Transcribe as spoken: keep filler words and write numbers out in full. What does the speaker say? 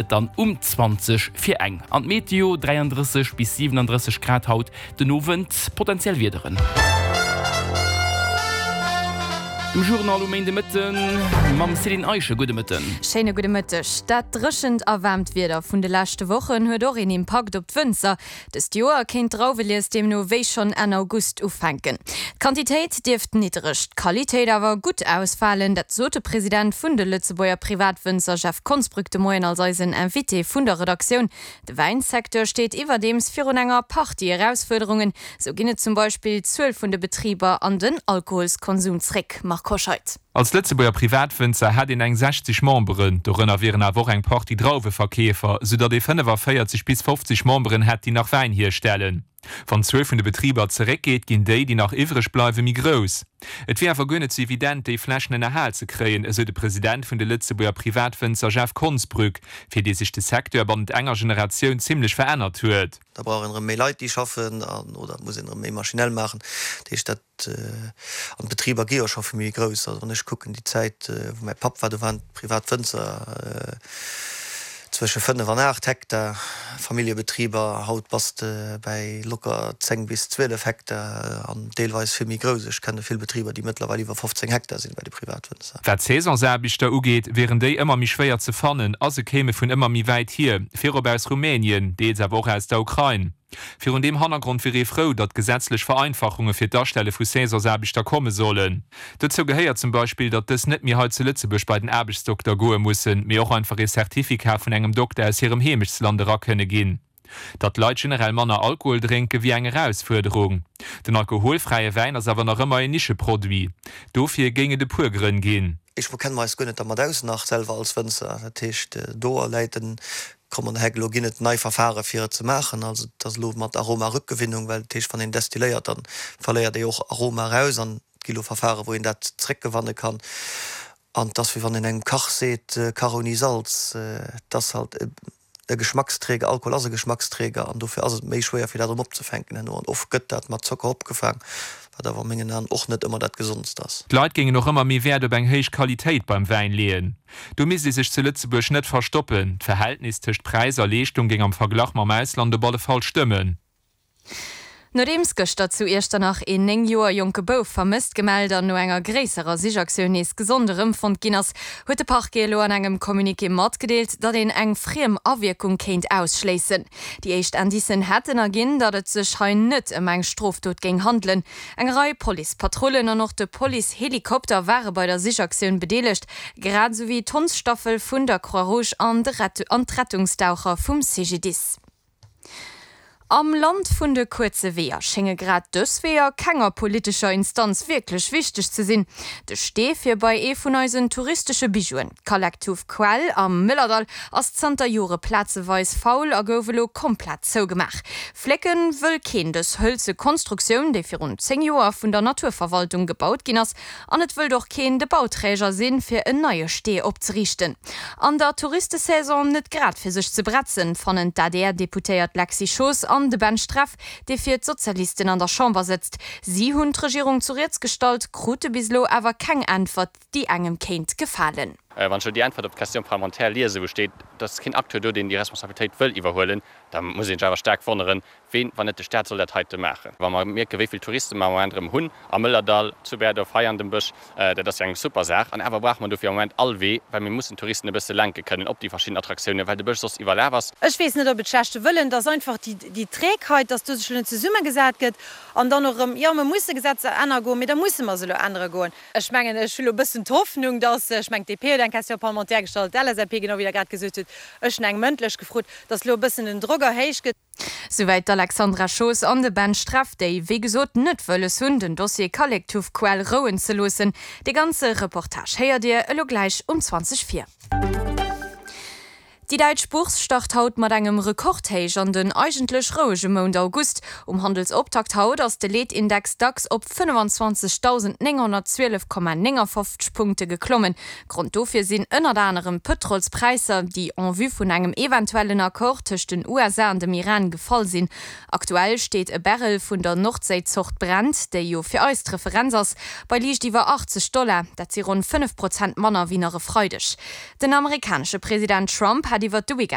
Et dann um zwanzeg vir eng. An d'Meteo, dräiandrësseg bis siwenandrësseg Grad haut den Owend, potenziell Wiederen. Dem Journal um Méindemëtten mam Céline Eischen. Gudde Mëtten. Schéine gudde Mëtteg. Dat dréchent a waarmt Wieder vun de leschte Wochen huet och een Impakt op d'Wënzer. Dëst Joer kéint d'Drauwelies deemno wéi schonn Enn August ufänken. D'Quantitéit dierft niddereg, d'Qualitéit awer gutt ausfalen. Dat sot de President vun de Lëtzebuerger Privatwënzer Jeff Konsbrück de Moien als eisen Invité vun der Redaktioun. De Wäinsecteur steet iwwerdeems virun enger Partie Erausfuerderungen. Sou ginn et zum Beispill d'Zuel vun de Betriber an den Alkoholskonsum zréck. Marc Hoscheid. Als Lëtzebuerger Privatwënzer hätt een eng sechzeg Memberen, dorënner wieren awer och eng Partie Drauweverkeefer, soudatt ee fënnefavéierzeg bis fofzeg Memberen hätt, déi nach Wäin hierstellen. Wann d'Zuel vun de Betriber zeréckgeet, ginn déi, déi nach iwwreg bleiwen, méi grouss. Et wier awer guer net sou evident, déi Flächen ënnerhal ze kréien, esou de President vun de Lëtzebuerger Privatwënzer Jeff Konsbrück, fir dee sech de Secteur bannent enger Generatioun zimmlech verännert huet. Da brauch een erëm méi Leit, déi schaffen, an oder et muss een erëm méi maschinell maachen. Dat heescht, dat, an d'Betriber gi jo scho vill méi grouss. Also wann ech kucken déi Zäit, wou mäi Papp war, do waren d'privat Wënzer zwësche fënnef an aacht Hektar, Familljebetriber. Haut bass de bäi locker zéng bis zwielef Hektar an deelweis vill méi grouss. Ech kenne vill Betriber, déi mëttlerweil iwwer fofzéng Hektar sinn bei de Privatwënzer. Wat d'Saisonsaarbechter ugeet, wieren déi ëmmer méi schwéier ze fannen a se kéime vun ëmmer méi wäit hier, virop aus Rumänien, deels awer och aus der Ukrain. Virun deem Hannergrond wier ee frou, datt gesetzlech Vereinfachunge fir d'Astelle vu Saisonsaarbechter komme sollen. Dozou gehéiert zum Beispill, datt dës net méi hei zu Lëtzebuerg bei den Aarbechtsdokter goe mussen, mee och einfach ee Certificat vun engem Dokter aus hirem Heemechtsland era kënne ginn. Datt d'Leit generell manner Alkohol drénken, wier eng Erausfuerderung. Den alkoholfräie Wäin ass awer nach ëmmer een Nischeproduit. Dofir géing et e puer Grënn ginn. Ech kenne mer eis guer net dermat aus, nach selwer als Wënzer. Dat heescht, do läit den Komm an Heck. Elo ginn et nei Verfare fir et ze maachen. Also et ass elo mat Aromarückgewinnung, well dat heescht, wann een destilléiert, da verléiert ee och Aroma eraus an et gi elo Verfare wou een dat zréckgewanne kann. An et ass wéi wann een engem Kach seet, Kach ouni Salz. Et ass halt e Geschmacksträger, Alkohol ass e Geschmacksträger an dofir ass et méi schwéier fir dat erëm opzefänken herno. An oft gëtt dat mat Zocker opgefaang, wat awer a mengen Aen och net ëmmer dat Gesondst ass. D'Leit géingen och ëmmer méi Wäert op eng héich Qualitéit beim Wäin leeën. Do misst ee sech zu Lëtzebuerg net verstoppen. D'Verhältnis tëscht Präis a Leeschtung géing am Verglach mam Ausland op alle Fall stëmmen. Nodeems gëschter zu Iechternach een néng Joer jonke Bouf vermësst gemellt an no enger gréisserer Sichaktioun nees gesond erëmfonnt ginn ass, huet de Parquet elo an engem Communiqué matgedeelt, datt een eng friem Awierkung kéint ausschléissen. Déi éischt Indicen hätten erginn, datt et sech hei net ëm eng Strofdot géing handelen. Eng Rei Policepatrullen an och de Policehelikopter ware bei der Sichaktioun bedeelegt, grad esou wéi d'Hondsstaffel vun der Croix-Rouge an d'Rettungsdaucher vum C G D I S. Am Land vun de kuerze Weeër schénge grad dës Weeër kenger politescher Instanz wierklech wichteg ze sinn. De Stee fir bei ee vun eisen touristesche Bijouen, d'Kallektuff-Quell am Mëllerdall, ass zanter Jore plazeweis faul a gouf elo komplett zougemaach. Flécke wëll keen dës hëlze Konstruktioun, déi virun zéng Joer vun der Naturverwaltung gebaut ginn ass. An et wëllt och keen de Bauträger sinn, fir en neie Stee opzeriichten. An der Touristesaison net grad fir sech ze bretzen, fannen d'A D R-Deputéiert Lexy Schoos an de Ben Streff, dee fir d'Sozialisten an der Chamber sëtzt. Si hunn d'Regierung zu Rieds gestallt, krute bis elo awer keng Äntwert, déi engem kéint gefalen. Wann ech elo déi Äntwert op d'Question parlementaire liesen, wou steet, et ass keen Acteur do, deen déi Responsabilitéit wëll iwwerhuelen, da muss ee sech awer staark wonneren, ween, wann net de Staat, soll dat heite maachen. Wa mer mierken, wéi vill Touriste mer am Moment erëm hunn am Mëllerdall, zu Berdorf, hei an dem Bësch, dat ass jo eng super Saach. An awer brauche mer dofir am Moment all Wee, well mir mussen d'Touristen e bësse lenke kënnen op déi verschidden Attraktiounen, well de Bësch soss iwwerlaf ass. Ech weess net, ob et schlechte Wëllen, dass einfach déi Trägheit, dass do sech elo net zesummegesat gëtt an dann och erëm, jo, mer musse Gesetzer ännere goen, mee da musse mer se elo ännere goen. Ech mengen, ech hu elo e bëssen d'Hoffnung, dass, ech mengen, d'D P huet eng Question parlementaire gestallt, d'L S A P, genau wéi Der grad gesot hutt, ech hunn eng mëndlech gefrot, dass elo e bëssen den Drock erhéicht gëtt. Souwäit d'Alexandra Schoos an de Ben Streff, déi wéi gesot net wëlles hunn, den Dossier Kallektuffquell rouen ze loossen. De ganze Reportage héiert Dir elo gläich um zwanzeg vir. Déi däitsch Bourse start haut mat engem Rekordhéich an den eigentlech rouege Mount August. Um Handelsoptakt haut ass de Leetindex DAX op fënnefenzwanzegdausendnénghonnertzwielef Komma néngafofzeg Punkte geklommen. Grond dofir sinn ënnert anerem d'Pëtrolspräisser, déi en vue vun engem eventuellen Accord tëscht den U S A an dem Iran gefall sinn. Aktuell steet e Barrel vun der Nordséizort Brent, déi jo fir eis d'Referenz ass, bei liicht iwwer achtzeg Dollar. Dat si ronn fënnef Prozent manner wéi nach e Freideg. Den amerikanesche President Trump hat hätt iwwert de Weekend